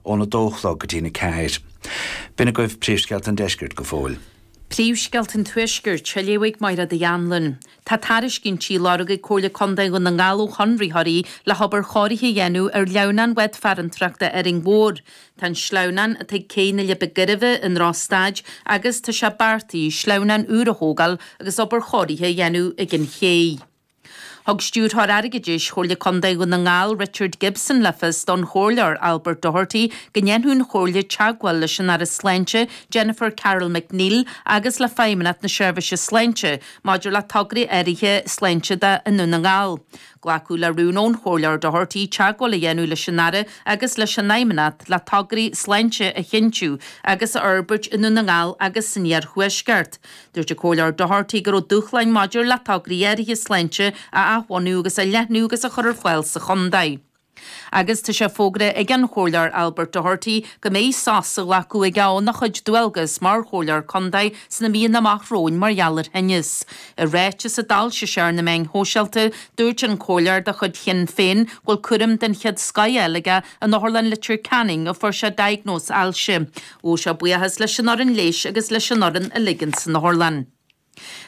óna dó a chlog go dtína 4. B'in agaibh príomhscéalta an deiscirt go fóill. Príomhscéalta an Tuaiscirt, á léamh ag Máire Uí Anluain. Tá tairiscintí á lorg ag Comhairle Contae Dhún na nGall ó chonraitheoirí le hobair chóirithe a dhéanamh ar shleamhnán Bhád Farantrachta Árainn Mhór. Tá an sleamhnán atá ag cé na Leidhbe Gairbhe i ndrochstaid agus tá sé beartaithe sleamhnán úr a thógáil agus obair chóirithe a dhéanamh ag an ché. Thug Stiúrthóir Airgeadais Chomhairle Contae Dhún na nGall, Richard Gibson le fios don Chomhairleoir Albert Doherty go ndéanfadh an Chomhairle teagmháil leis an Aire Sláinte Jennifer Carroll MacNeill agus le Feidhmeannacht na Seirbhíse Sláinte maidir le tograí áirithe sláinte do i nDún na nGall. Glacadh le rún ón Chomhairleoir Doherty teagmháil a dhéanamh leis an Aire agus leis an Fheidhmeannacht le tograí sláinte a chinntiú agus a fhorbairt i nDún na nGall agus san Iarthuaisceart. Dúirt an Comhairleoir Doherty go raibh dúshláin maidir le tograí áirithe sláinte a athbhunú agus a leathnú agus a chur ar fáil sa chontae. Agus tá sé fógartha ag an Chomhairleoir Albert Doherty go mbeidh sos á ghlacadh aige óna chuid dualgas mar Chomhairleoir Contae sna míonna amach romhainn mar gheall ar thinneas. I ráiteas a d'fhoilsigh sé ar na meáin shóisialta, dúirt an Comhairleoir de chuid Shinn Féin go bhfuil cúram den chéad scoth á fháil aige in Otharlann Leitir Ceanainn a fuair sé diagnóis ailse. Ghabh sé buíochas leis an fhoireann leighis agus leis an fhoireann uilig ins an otharlann.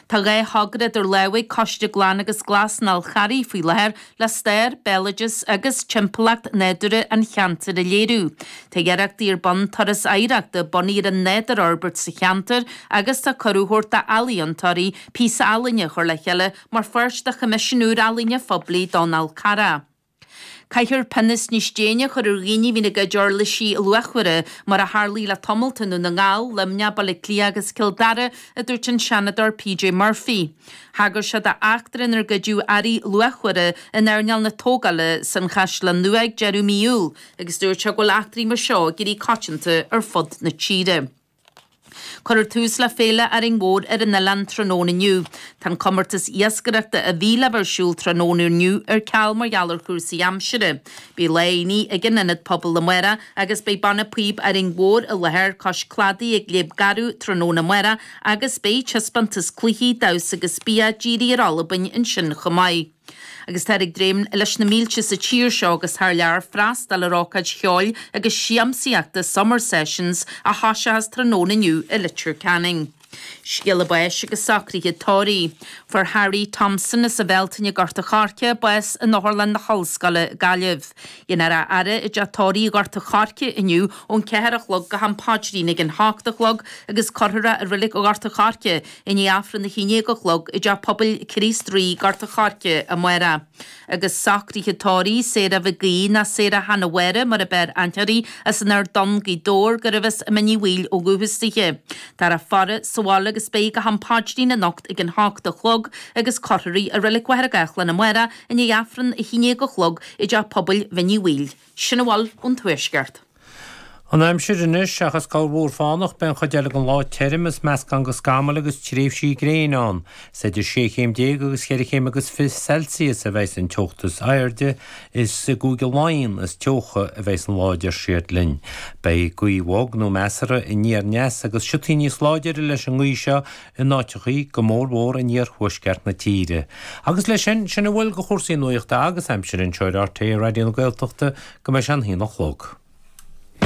Tá 2 thogra idir lámha ag Coiste Glan agus Glas an Fhál Charraigh faoi láthair le stair, béaloideas agus timpeallacht nádúrtha an cheantair a léiriú. Tá iarrachtaí ar bun turas oidhreachta bunaithe ar an nádúr a fhorbairt sa cheantar agus tá cuireadh á thabhairt d'ealaíontóirí píosa ealaíne a chur le chéile mar pháirt de choimisiún úr ealaíne phoiblí don Fhál Carrach. Caithfear pionós níos déine a chur ar dhaoine a bhíonn ag goid uirlisí luachmhara, mar a tharlaigh le tamalt i nDún na nGall, Luimneach, Baile Átha Cliath agus Cill Dara, a dúirt an Seanadóir PJ Murphy. Thagair sé d'eachtra inar goideadh earraí luachmhara in earnáil na tógála san Chaisleán Nua ag deireadh mí Iúil agus dúirt sé go bhfuil eachtraí mar seo ag éirí coitianta ar fud na tíre. Cuirfear tús le Féile Árainn Mhór ar an oileán tráthnóna inniu. Tá an comórtas iascaireachta a bhí le bheith ar siúl tráthnóna inniu ar ceal mar gheall ar chúrsaí aimsire. Beidh lá aonaigh ag an Ionad Pobail amárach agus beidh Banna Píob Árainn Mhór i láthair cois cladaigh ag Léim Garbh tráthnóna amárach agus beidh taispeántas cluichí, damhsa agus bia dírithe ar Albain ansin chomh maith. Agus táthar ag dréim leis na mílte sa tír seo agus thar lear freastal ar ócáid cheoil agus siamsaíochta Summer Sessions a thoiseochas tráthnóna inniu i Leitir Ceanainn. Scéala báis agus socruithe tórraimh. Fuair Harry Thompson as an Bhealtaine Gort a' Choirce bás in Otharlann na hOllscoile, Gaillimh. Dhéanfar a fhaire i dteach tórraimh Ghort a' Choirce inniu ón 4 a chlog go ham paidrín ag an hocht a chlog agus cuirfear é i Reilig Ghort a' Choirce I ndiaidh Aifreann a 11 a chlog i dTeach Pobail Chríost Rí, Gort a' Choirce, amárach. Agus socruithe tórraimh, Sarah Mhig Aoidh ná Sarah Hannah Mháire mar a b'fhearr aithne uirthi, as an Ard Donn, Gaoth Dobhair, gurbh as Mín Uí Bhaoill ó dhúchas dithe. Táthar á faire sa bhaile agus beidh go ham paidrín anocht ag an hocht a chlog agus cuirfear í i Reilig Mhachaire Gathlán amárach i ndiaidh Aifreann a 11 a chlog i dTeach Pobail Mhín Uí Bhaoill. Sin a bhfuil ón Tuaisceart. An aimsir anois, seachas corrmhúr fánach, beidh an chuid eile den lá tirim is meascán de scamaill agus tréimhsí gréine ann. Is idir sé chéim déag agus cheithre chéim agus fiche Celsius a bheidhs an teocht is airde. Is i gCúige Laighean is teocha a bheidhs an lá a deir siad linn. Beidh gaoth bhog nó measartha aniar aneas agus siotaí níos láidire leis an ngaoth seo in áiteachaí, go mór mhór in iarthuaisceart na tíre. Agus leis sin, sin a bhfuil de chúrsaí nuachta agus aimsire anseo ar RTÉ Raidió na Gaeltachta go mbeidh sé an haon a chlog.